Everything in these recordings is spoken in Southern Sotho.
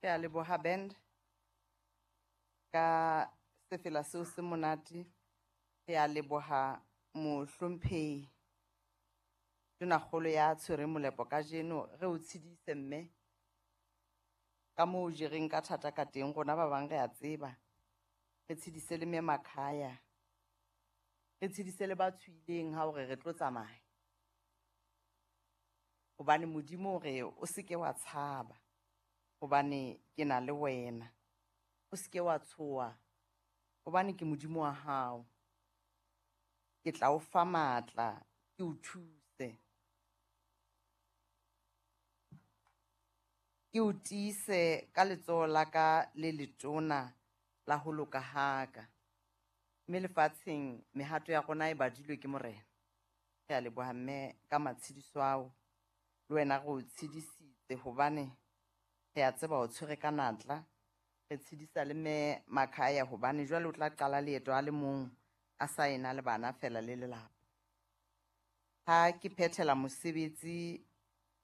Ke a leboha band ka sefela seo se monate. Re a leboha mohlomphehi Tonakgolo ya tshwereng molepo kajeno. Re o tshedise mme ka moo o jereng ka thata ka teng, rona ba bang rea tseba. Re tshedise le Mme Makhaya, re tshedise le ba tshohileng ha hore re tlo tsamaya. Hobane Modimo o re o se ke wa tshaba hobane ke na le wena, o se ke wa tshoha hobane ke Modimo wa hao. Ke tla o fa matla, ke o thuse, ke o tiise ka letsoho la ka le letona la ho loka ha ka. Mme lefatsheng mehato ya rona e badilwe ke Morena. Re a leboha mme ka matshediso ao. Le wena re o tshedisitse hobane re a tseba o tshwere ka natla. Re tshedisa le Mme Makhaya hobane jwale o tla qala leeto a le mong a sa ena le bana feela le lelapa. Ha ke phethela mosebetsi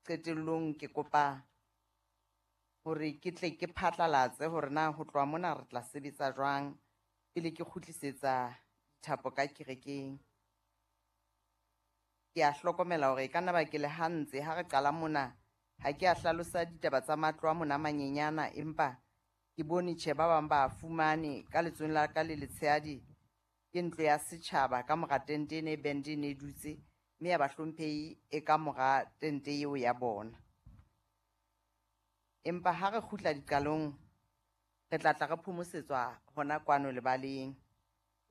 qetellong ke kopa hore ke tle ke phatlalatse hore na ho tloha mona re tla sebetsa jwang pele ke kgutlisetsa dithapo ka kerekeng. Ke a hlokomela hore e ka nna ba ke le hantse ha re qala mona, ha ke a hlalosa ditaba tsa matlo a mona a manyenyana, empa ke bone tjhe ba bang ba fumane ka letsohong la ka le letshehadi ke ntlo ya setjhaba ka mora tente ene e band e ne e dutse, mme ya bahlomphehi e ka mora tente eo ya bona. Empa ha re kgutla diqalong, re tla tla re phomosetswa hona kwano lebaleng.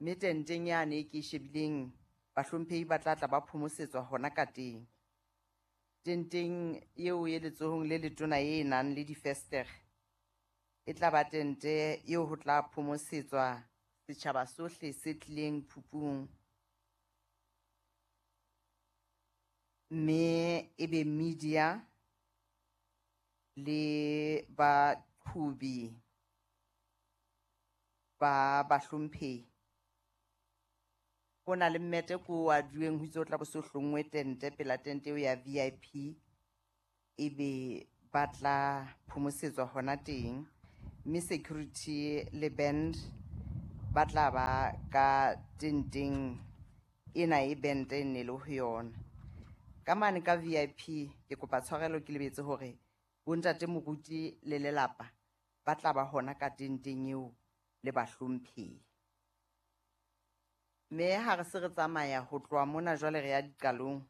Mme tenteng yane e ke e shebileng, bahlomphehi ba tla tla ba phomosetswa hona ka teng. Tenteng eo e letsohong le letona e nang le difestere, e tla ba tente eo ho tla phomosetswa setjhaba sohle se tlileng phupung. Mme e be media le baqhobi ba bahlomphehi. Ho na le mmete ko o aduweng ho itse ho tla bo so hlonngwe tente pela tente eo ya VIP, ebe ba tla phomosetswa hona teng. Mme security le band ba tla ba ka tenteng ena e band e ne le ho yona. Ka mane ka VIP, ke kopa tshwarelo ke lebetse hore bontate moruti le lelapa ba tla ba hona ka tenteng eo le bahlomphehi. Mme ha re se re tsamaya ho tloha mona jwale re ya diqalong,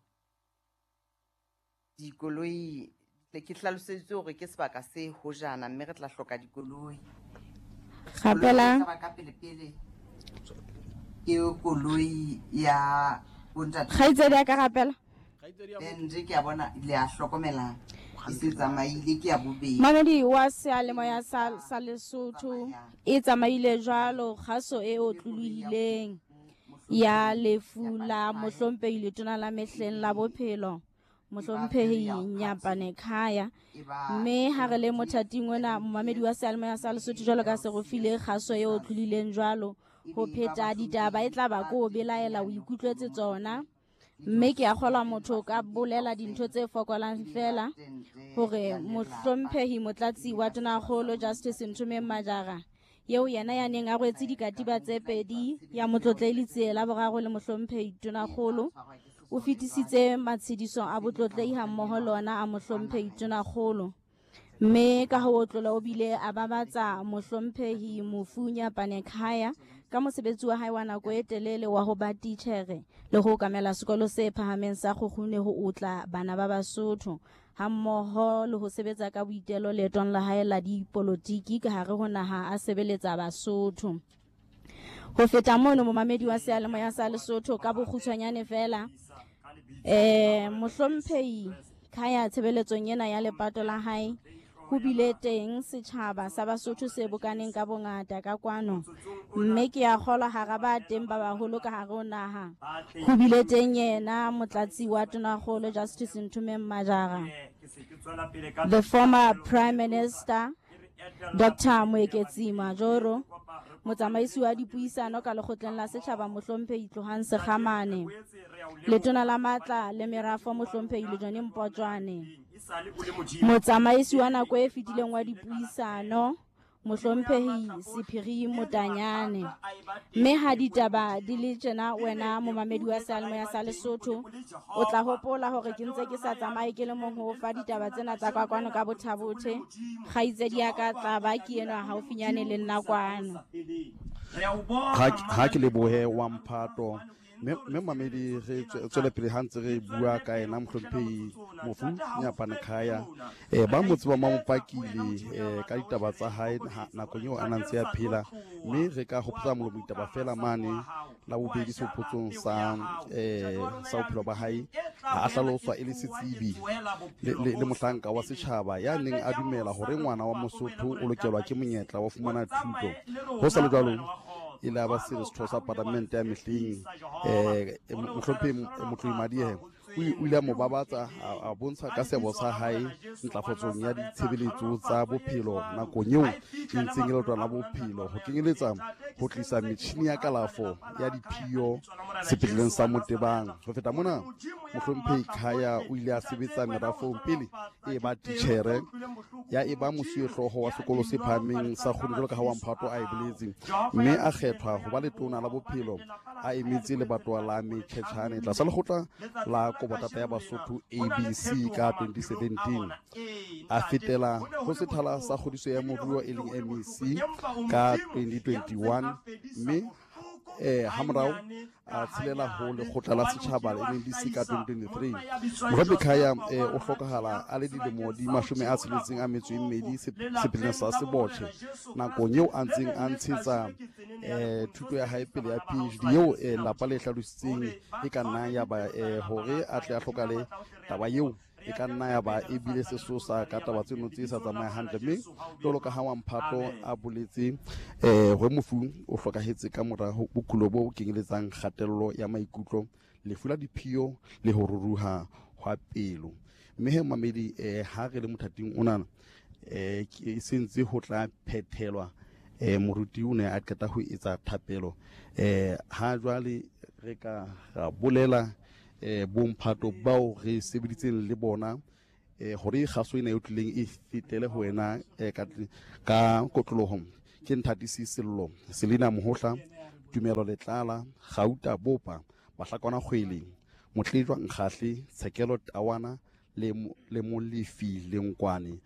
dikoloi ke hlaloseditswe hore ke sebaka se hojana mme re tla hloka dikoloi. Rapelang. Koloi e tla ba ka pele pele ke koloi ya bontate. Kgaitsedi ya ka rapela. Band ke a bona le a hlokomela e se tsamaile ke ya bobedi. Mamedi wa seyalemoya sa, sa Lesotho e tsamaile jwalo kgaso e otlolohileng ya lefu la mohlomphehi letona la mehleng la bophelo mohlomphehi Nyapane Khaya. Mme ha re le mothating ona momamedi wa seyalemoya sa Lesotho jwalo ka se re file kgaso e otlolohileng jwalo ho pheta ditaba e tla ba ko o belaela o ikutlwetse tsona. Mme ke a kgolwa motho o ka bolela dintho tse fokolang fela hore mohlomphehi motlatsi wa tonakgolo Justice Nthomeng Majara eo yena ya neng a rwetse dikatiba tse pedi ya motlotlehi Letsie la boraro le mohlomphehi tonakgolo o fetisitse matshediso a botlotlehi hammoho le ona a mohlomphehi tonakgolo. Mme ka ho otlola o bile a babatsa mohlomphehi mofu Nyapane Khaya ka mosebetsi wa hae wa nako e telele wa ho ba titjhere le ho okamela sekolo se phahameng sa Kgukgune ho otla bana ba Basotho hammoho le ho sebetsa ka boitelo leetong la hae la dipolotiki ka hare ho naha a sebeletsa Basotho. Ho feta mono, momamedi wa seyalemoya sa Lesotho ka bokgutshwanyane fela, mohlomphehi Khaya tshebeletsong ena ya lepato la hae ho bile teng setjhaba sa Basotho se bokaneng ka bongata ka kwano, mme ke a kgolwa hara ba teng ba baholo ka hare ho naha ho bile teng yena motlatsi wa tonakgolo Justice Nthomeng Majara, the former Prime Minister Dr. Moeketsi Majoro, motsamaisi wa dipuisano ka lekgotleng la setjhaba mohlomphehi Tlohang Sekgamane, letona la matla le merafo mohlomphehi Lejone Mpotjwane, Motsamaisi wa nako e fetileng wa dipuisano, Mohlomphehi Sephiri Motanyane. Mme ha ditaba di le tjena wena momamedi wa seyalemoya sa Lesotho, o tla hopola hore ke ntse ke sa tsamaye ke le mong ho fa ditaba tsena tsa ka kwano ka bothabothe. Kgaitsedi ya ka tla ba ke enwa haufinyane le nna kwano. Ha ke lebohe wa mphato mme mamedi re tswele pele ha ntse re bua ka ena mohlomphehi mofu Nyapane Khaya. Ba mo tseba mo pakile ka ditaba tsa hae nakong eo a nang ntse a phela, mme re ka hopotsa molomo ditaba fela mane la bobedi sehopotsong sa sa bophelo ba hae. A hlaloswa e le setsebi le mohlanka wa setjhaba ya neng a dumela hore ngwana wa Mosotho o lokelwa ke monyetla wa fumana thuto. Ho sa le jwalo, e le ba se setho sa palamente ya mehleng mohlomphehi Motlohi Madiehe o ile a mo babatsa, a bontsha ka seabo sa hae ntlafatsong ya ditshebeletso tsa bophelo nakong eo e ntseng e leotwana la bophelo, ho kenyeletsa ho tlisa metjhini ya kalafo ya diphio sepetleleng sa Motebang. Ho feta mona, mohlomphehi Khaya o ile a sebetsa merafong pele e ba titjhere, ya e ba mosuwehlooho wa sekolo se phahameng sa Kgone jwalo ka ha wa mphato a e boletse, mme a kgethwa ho ba letona la bophelo a emetse lebatowa la Metjhetjhane tlasa lekgotla la Kobotata ya Basotho ABC ka 2017. A fetela ho sethala sa kgodiso ya moruo e leng MEC ka 2021, mme hamorao a tshelela ho lekgotla la setjhaba la NDC ka 2023. Mohlomphehi Khaya o hlokahala a le dilemo di 62 sepetleleng sa Sebotjhe nakong eo a ntseng a ntshetsa thuto ya hae pele ya PhD eo lapa le hlalositseng e ka nna ya ba hore a tle a hlokale. Taba eo e ka nna ya ba e bile sesosa ka taba tseno tse sa tsamaye hantle, mme jwalo ka ha wa mphato a boletse hore mofu o hlokahetse ka mora bokulo bo kenyeletsang kgatello ya maikutlo, lefu la diphio le ho ruruha hwa pelo. Mme he mamedi, ha re le mothating onana ke sentse ho tla phethelwa, moruti o ne a qeta ho etsa thapelo. Ha jwale re ka ra bolela bomphato bao re sebeditseng le bona hore kgaso ena e tlileng e fetele ho wena ka kotloloho ke Nthatisi Sello, Selina Mohohla, Tumelo Letlala, Gauta Bopa, Bahlakwana Kgwele, Motlejwa Nkgahle, Tshekelo Tawana le Molefi Lenkwane.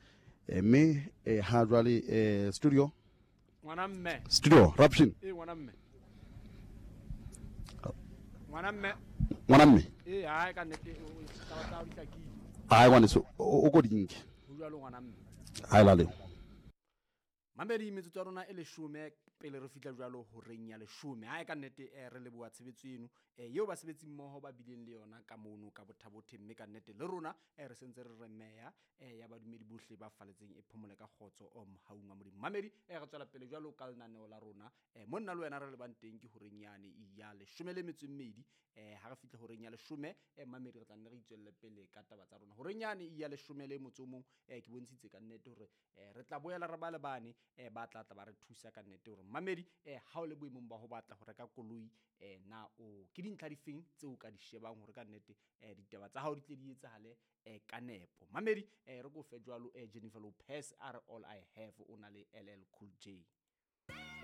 Mme ha jwale studio ngwana mme studio Rapshin ngwana mme ngwana mme ngwana mme hae ka nnete taba tsa di hlakile. Hae ngwaneso o ko dinke ho jwalo ngwana mme hae la leo. Mamedi, metsotso ya rona e 10 pele re fihla jwalo horeng ya 10. Hae ka nnete re leboha tshebetso eno eo basebetsi mmoho ba bileng le yona ka mono ka bothabothe, mme ka nnete le rona re sentse re re meya ya badumedi bohle ba faletseng e phomole ka kgotso o mohaung wa Modimo. Mamedi, re tswela pele jwalo ka lenaneo la rona monna le wena re lebang teng ke horeng yane ya 12. Ha re fihla horeng ya 10 mamedi re tla nne re itswelle pele ka taba tsa rona. Horeng yane ya 11 ke bontshitse ka nnete hore re tla boela re ba le bane ba tla tla ba re thusa ka nnete hore mamedi ha o le boemong ba ho batla ho reka koloi na o ke dintlha difeng tseo ka di shebang hore ka nnete ditaba tsa hao di tle di etsahale ka nepo. Mamedi re ko fe jwalo Jennifer Lopez a re All I Have o na le LL Cool J.